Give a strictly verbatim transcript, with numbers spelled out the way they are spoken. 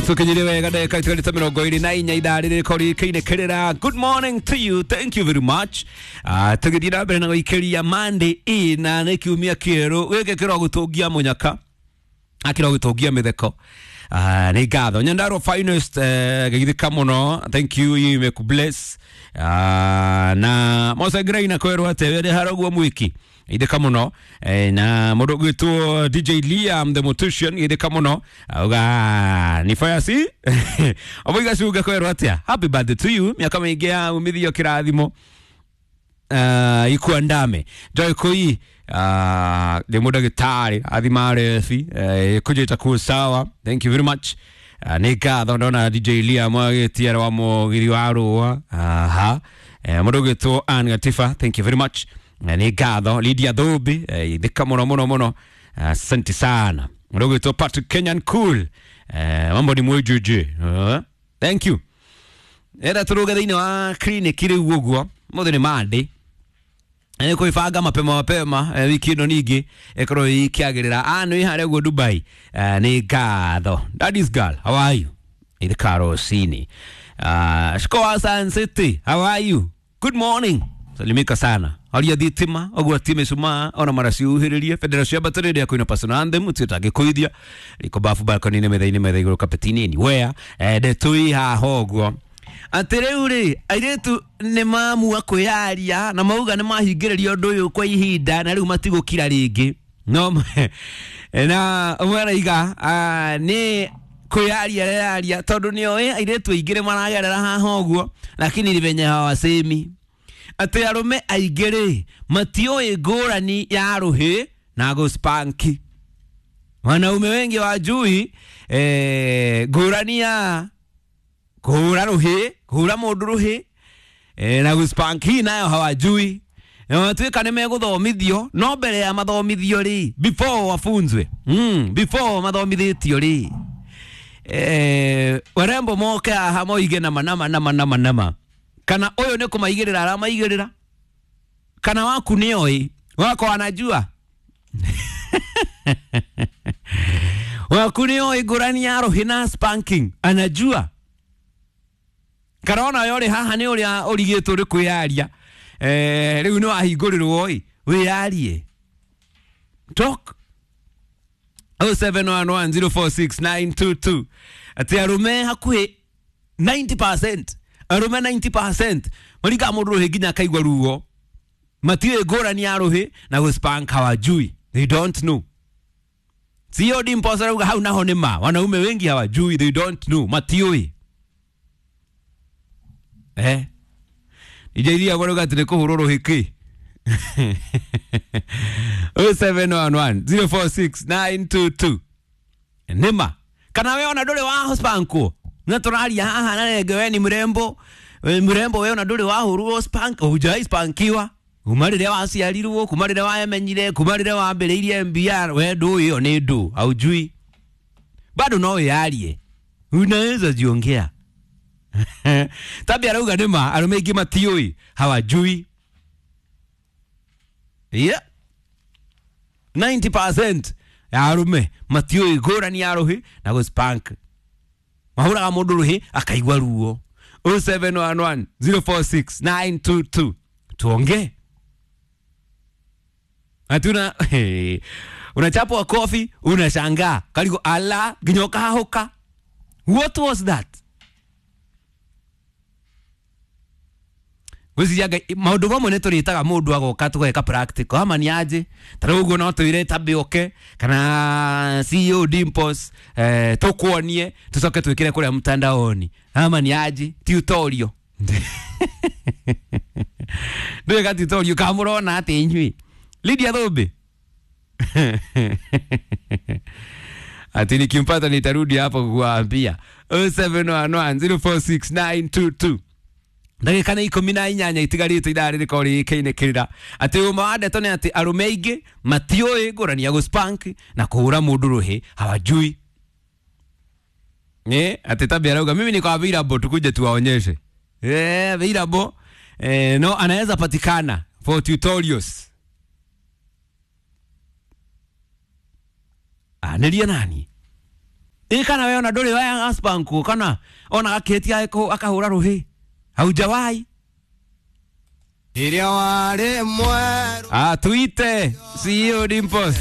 Tukinyire wega ndagĩka itigarĩte mĩrongo ĩrĩ na inya ithaa rĩrĩ rĩkorwo rĩkĩinĩkĩrĩra. Good morning to you, thank you very much. uh, tũgĩthiĩ na mbere na gũikĩria Monday ĩ na nĩ kiumia kĩerũ gĩkĩ kĩrogũtũngia mũnyaka akĩrogũtũngia mĩtheko. uh, nĩ ngatho Nyandarua finest, uh, geithĩka mũno, thank you, you may bless. uh, na Mose Graina kwĩrwo atĩ wĩrĩ haraguo mwiki ithika muno, eh, na mundu gwitwo D J Liam the Mortician ithika muno auga ni fire si oboiga cuga kwĩrwo atia happy birthday to you, miaka mĩingĩ ya umithio kĩrathimo uh, ikuandame Joy Koi uh, ndĩ mũndagĩtarĩ athima rebi uh, kũnjĩta kuo sawa, thank you very much. uh, nĩ ngatho ndona D J Liam agĩtiara wa mũgiri wa rũa aha, eh, mũndũ gwĩtwo Ann Gatifa, thank you very much. Nĩ ngatho Lydia Thubi, ithika mũno mũno mũno, asante sana. Mũndũ gwĩtwo Patrick Kenyan Cool, eh, mambo ni mwejeje, uh, thank you. Enda tũrũge thĩinĩ wa clinic rĩu ũguo mũthĩ nĩ Monday, nĩ kwĩbanga mapema mapema, eh, wiki ĩno ningĩ ĩkorwo ĩkĩagĩrĩra. Ah, nĩ harĩa ũguo Dubai, eh, nĩ ngatho Daddy's girl, how are you? Ithika rũcinĩ. uh, Shikoa Sun City, how are you? Good morning, salimika sana aria thitima ũguo ti mĩcumaa ona maraciuhĩrĩrie bendera cia mbatĩrĩria ya kwĩna personal anthem tuĩtangĩkũithia riko bafu balcony-inĩ metha-inĩ metha igũrũ kapeti-inĩ anywhere, eh, ndetũi haha ũguo atĩ rĩu rĩ airĩtu nĩ mamua kwĩyaria na mauga nĩ mahingĩrĩria ũndũ ũyũ kwa ihinda na rĩu matigũkira rĩngĩ no na ũmwe araiga nĩ kwĩyaria reyaria tondũ nĩoĩ airĩtu aingĩ nĩ maragerera haha ũguo lakini ni venye hawasemi atĩ arũme aingĩ rĩ matiũĩ ngũrani ya rũhĩ na gũspanki. Wanaume wengi wajui eh, ngũrani ya kũhũra rũhĩ, kũhũra mũndũ rũhĩ eh, na gũspanki nayo hawajui. Na matuĩka nĩ megũthomithio no mbere ya mathomithio rĩ, before wafunzwe, mm, before mathomithĩtio rĩ, eh, warembo moke haha moige nama nama nama nama nama kana ũyũ nĩ kũmaigĩrĩra aramaigĩrĩra kana waku nĩoĩ wako anajua waku nĩoĩ ngũrani ya rũhĩ na spanking anajua kana ona yo rĩ haha nĩ ũrĩa ũrigĩtwo nĩ kwĩyaria, eh, rĩu nĩ wahingũrĩrwo ĩ wĩyarie talk oh seven one one zero four six nine two two atĩ arũme hakuhĩ ninety percent arũme ninety percent maringaga mũndũ rũhĩ nginya akaigua ruo matiũĩ ngũrani ya rũhĩ na gũspank hawajui, they don't know. C O D Mposa arauga hau naho nĩ ma wanaume wengi hawajui, they don't know, matiũĩ eh ijeria barauga atĩ nĩ kũhũrwo rũhĩ kĩ oh seven one one zero four six nine two two nĩma kana we ona ndũrĩ wa spankwo na tũraria haha na renge we ni mrembo, we mrembo we ona ndũrĩ wahũrwo spank, hujai spankiwa kuma rĩrĩa waciarirwo, kuma rĩrĩa waemenyire, kuma rĩrĩa wambĩrĩirie M B R, we ndũĩ ĩyo nĩ ndũ haujui bado no wĩyarie unaweza jiongea tabia arauga nĩma arũme aingĩ matiũĩ hawajui. Yeah, ninety percent ya arũme matiũĩ ngũrani ya rũhĩ na gũspank mahũraga mũndũ rũhĩ akaigua ruo. oh seven one one zero four six nine two two tuongee. Hatuna hey, unachapwa kofi unashangaa karigo ala nginya ũkahahũka. What was that? Gwĩciria maũndũ mamwe nĩ tũrĩtaga mũndũ agoka tũgeka practical ama nĩ aje ta rĩu ũguo no twĩre Tabi oke kana C E O Dimples, eh, tũkuonie tũcoke twĩkĩre kũrĩa mtandaoni ama nĩ aje tutorial ndwĩka tutorial kamũrona atĩ inyuĩ Lydia Thubi ati nikimpata nitarudi hapo kukuambia oh seven one one zero four six nine two two ndagĩka nĩ ikũmi na inyanya itigarĩte ithaa rĩrĩkorwo rĩkĩinĩkĩrĩra atĩ ũma wa ndeto nĩ atĩ arũme aingĩ matiũĩ ngũrani ya gũspank na kũhũra mũndũ rũhĩ hawajui. Eh, atĩ Tabi arauga mimi niko available tukuje tuwaonyeshe. Eh, available eh, no anaweza patikana for tutorials. Anĩria nani? Ĩ kana we ona ndũrĩ wa aspanku kana ona gakĩtia akahũra rũhĩ haujawai Ĩrĩa warĩ mwerũ Ah, tuite C E O Dimples.